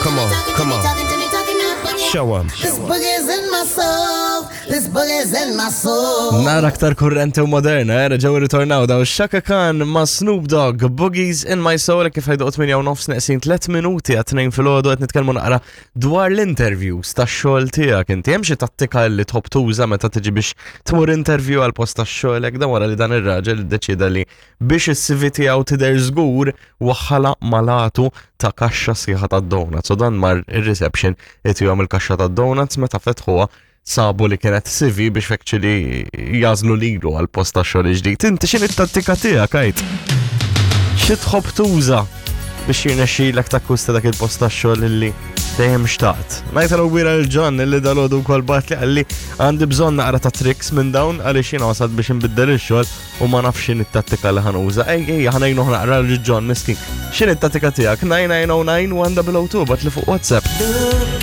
Come on, come on. Show 'em. This boogie's in my soul. This boogie's in my soul. Nara aktar kurrenti u moderna, eh, reġgħu ritornaw daw Shaka Khan ma' Snoop Dogg, Boogies in My Soul, kif ħajdu 8 u nofs neqsin 3 minuti għat 2 filgħodu qed nitkellmu naqra dwar l-interviews tax-xogħol tiegħek. Inti hemm xi tattika li tħobb tuża meta tiġi biex tmur interview għal post tax-xogħol hekk dan wara li dan ir-raġel iddeċieda li biex is-CV tiegħu tidher żgur waħħala malatu ta' kaxxa sħiħa ta' donuts. U dan mar ir-reception itihom il-kaxxa ta' donuts meta fetħuha sabu li kienet CV biex actually jażlu lilu għal post ta' xogħol ġdid. Inti x'inhi t-tattika tiegħek għid? Xi tħobb tuża biex jirnexxilek takkwista dak il-post ta' xogħol illi dejjem xtaqt. Ngħid għal wira l-John illi dalodu wkoll bat li qalli għandi bżonn naqra ta' tricks minn dawn għaliex jiena wasalt biex inbiddel ix-xogħol u ma nafx x'inhi t-tattika li ħanuża. Ej, ej, ħanejnu naqra lil John miskin. X'inhi t-tattika tiegħek? 9909 1 bat li fuq WhatsApp.